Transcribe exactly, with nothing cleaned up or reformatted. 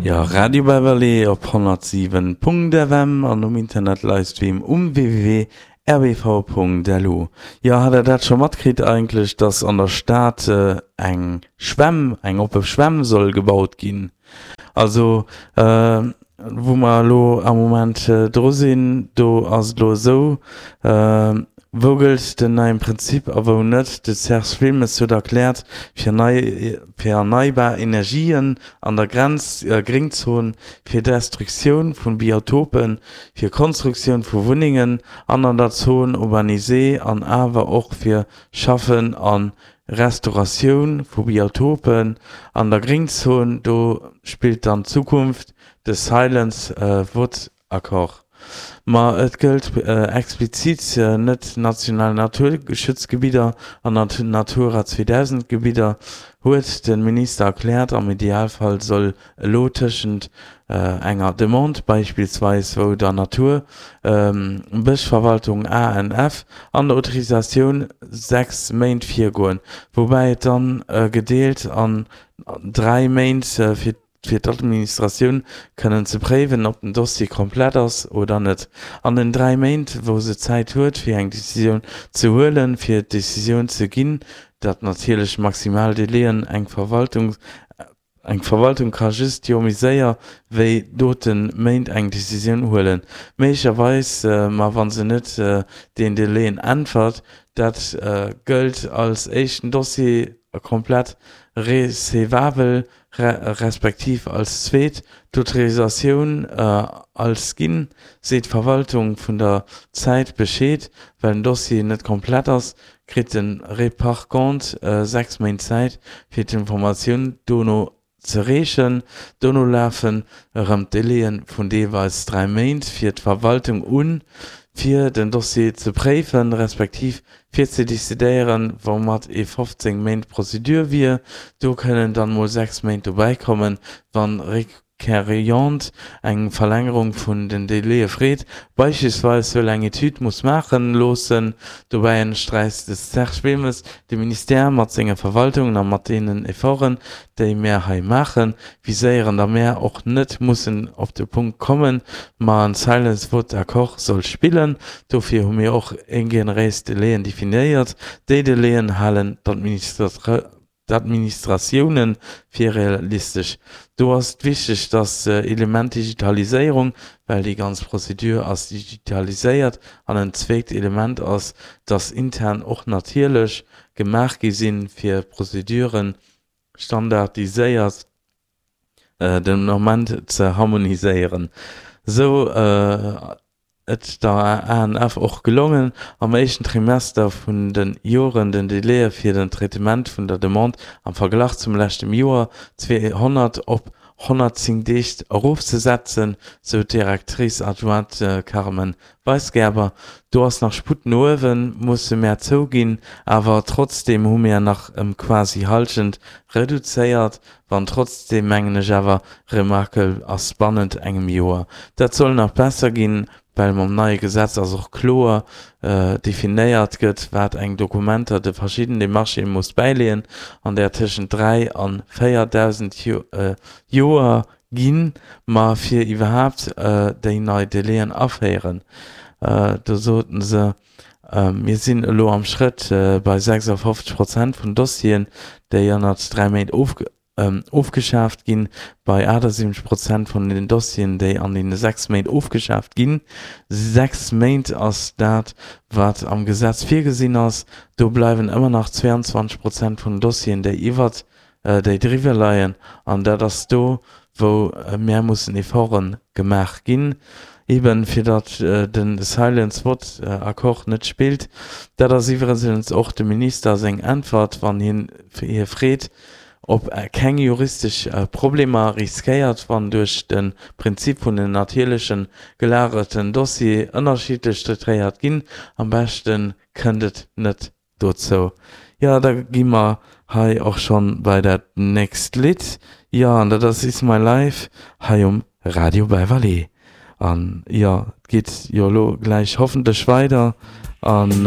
Jo, Radio Beverly op honnertsiwen Punkt F M an um Internet Livestream um W W W Punkt R B V Punkt L U. Jo, hat der dat scho matkritt eigentlech, dass an der Stad eng Schwämm, eng oppe Schwämm soll gebaut ginn? Also wou mer elo am Moment dru sinn, do ass et elo esou, wou gëllt den neien Prinzip a wou net? De Serge Wilmes huet erkläert, fir nei, fir erneibar Energien an der Grenz, Gréngzon, fir Destruktioun vun Biotopen, fir Konstruktioun vu Wunnengen an an der Zone urbanisée an awer och fir Schaffen a Restauratioun vu Biotopen an der Gréngzon, do spillt dann d'Zukunft de Silence vaut accord. Ma et gëllt explizit net national Naturschutzgebidder an Natura zweedausend Gebidder, huet de Minister erkläert. Am Idealfall soll elo tëschent enger Demande beispillsweis wou der Natur Bëschverwaltung, A N F, an der Autorisatioun sechs Méint virgoen, woubäi et dann gedeelt an dräi Méint fir fir d'Administratioun kënnen ze préiwen, ob den Dossier komplett ass oder net. An den dräi Méint, wou se Zäit huet fir eng Decisioun ze huelen, fir d'Decisioun ze ginn, dat natierlech maximal Delaien, eng Verwaltung eng Verwaltung ka just jo méi séier wéi doten Méint eng Decisioun huelen, méiglecherweis, ma wa se net den Delaien äntwert, dat gëllt als éischten Dossier komplett recevabel, respektiv als zweet d'Autorisatioun als ginn, seet d'Verwaltung vun der Zäit Bescheed, well den Dossier net komplett ass, kritt de Requérant sechs Méint Zäit fir d'Informatioun dono ze reechen. Dono lafen erëm d'Delaie vun deelweis dräi Méint fir d'Verwaltung un, fir den Dossier ze préifen, respektiv fir ze decidéieren, woumat ee fofzéng Méint Prozedur wier. Do kënnen dann mol sechs Méint dobäi kommen, wann Requérant eng Verlängerung vun den Delaie freet, beispillsweis wëll eng Etüd muss maache loossen. Dobäi ënnersträicht de Serge Wilmes, De Ministère mat senge Verwaltungen a mat deenen Efforten, déi mär hei maachen, viséieren, datt mär och net mussen op de Punkt kommen, ma en Silence vaut accord soll spillen. Dofir hu mir och generéis Delaien definéiert. Déi Delaien halen d'Administratioune fir realistesch. Do ass et wichteg, dat Element Digitaliséierung, well déi ganz Prozedur ass digitaliséiert, an en zweet Element ass, datt intern och natierlech gemaach gi sinn, fir Prozeduren standardiséiert den Ament ze harmoniséieren. Sou et der A N F och gelongen, am éischten Trimester vun de Joren den Delaie fir den Traitement vun der Demande am Verglach zum leschten Joer zweehonnert op honnertzéng Deeg erofzesetzen, sou d'Directrice adjointe Carmen Weisgerber. Do ass nach Sputt no uewen, musse mär zouginn, awer trotzdeem hu mär nach ëm quasi Hallschent reduzéiert, wann trotzdeem mengen ech awer remarkabel ass bannent engem Joer. Dat soll nach besser ginn, well mam neie Gesetz ass och kloer definéiert gëtt, wat eng Dokumenter de verschidden Demarchë muss bäileeën, an där tëschent dräi a véierdausend Joer ginn, ma fir iwwerhaapt déi nei Delaien aféieren. Do soten se, mir sinn elo am Schrëtt bei sechsafofzeg Prozent vun Dossieren, déi ënnert dräi Méint ofgeschaaft ginn, bei achtasiwwenzeg Prozent vun den Dossieren, déi an deene sechs Méint ofgeschaaft ginn. Sechs Méint ass dat, wat am Gesetz virgesinn ass. Do bleiwen ëmmer nach zweeanzwanzeg Prozent vun den Dossieren, déi iwwert, déi driwwer leien. An dat ass do, wou mär mussen Efforte gemaach ginn, eben fir datt de Silence vaut accord net spillt. Dat ass iwwregens och dem Minister seng Äntwert, wann hien hie freet, ob keng juristesch Problemer riskéiert, wann duerch de Prinzip vun den natierlechen gelagerten Dossier ënnerschiddlech traitéiert ginn. Am beschte kënnt et net dozou. Jo, da gi mer hei och schonn bei dat nächst Lidd. Jo, an dat ass Is My Life hei um Radio Beverly. An jo, et geet jo elo gläich hoffentlech weider an.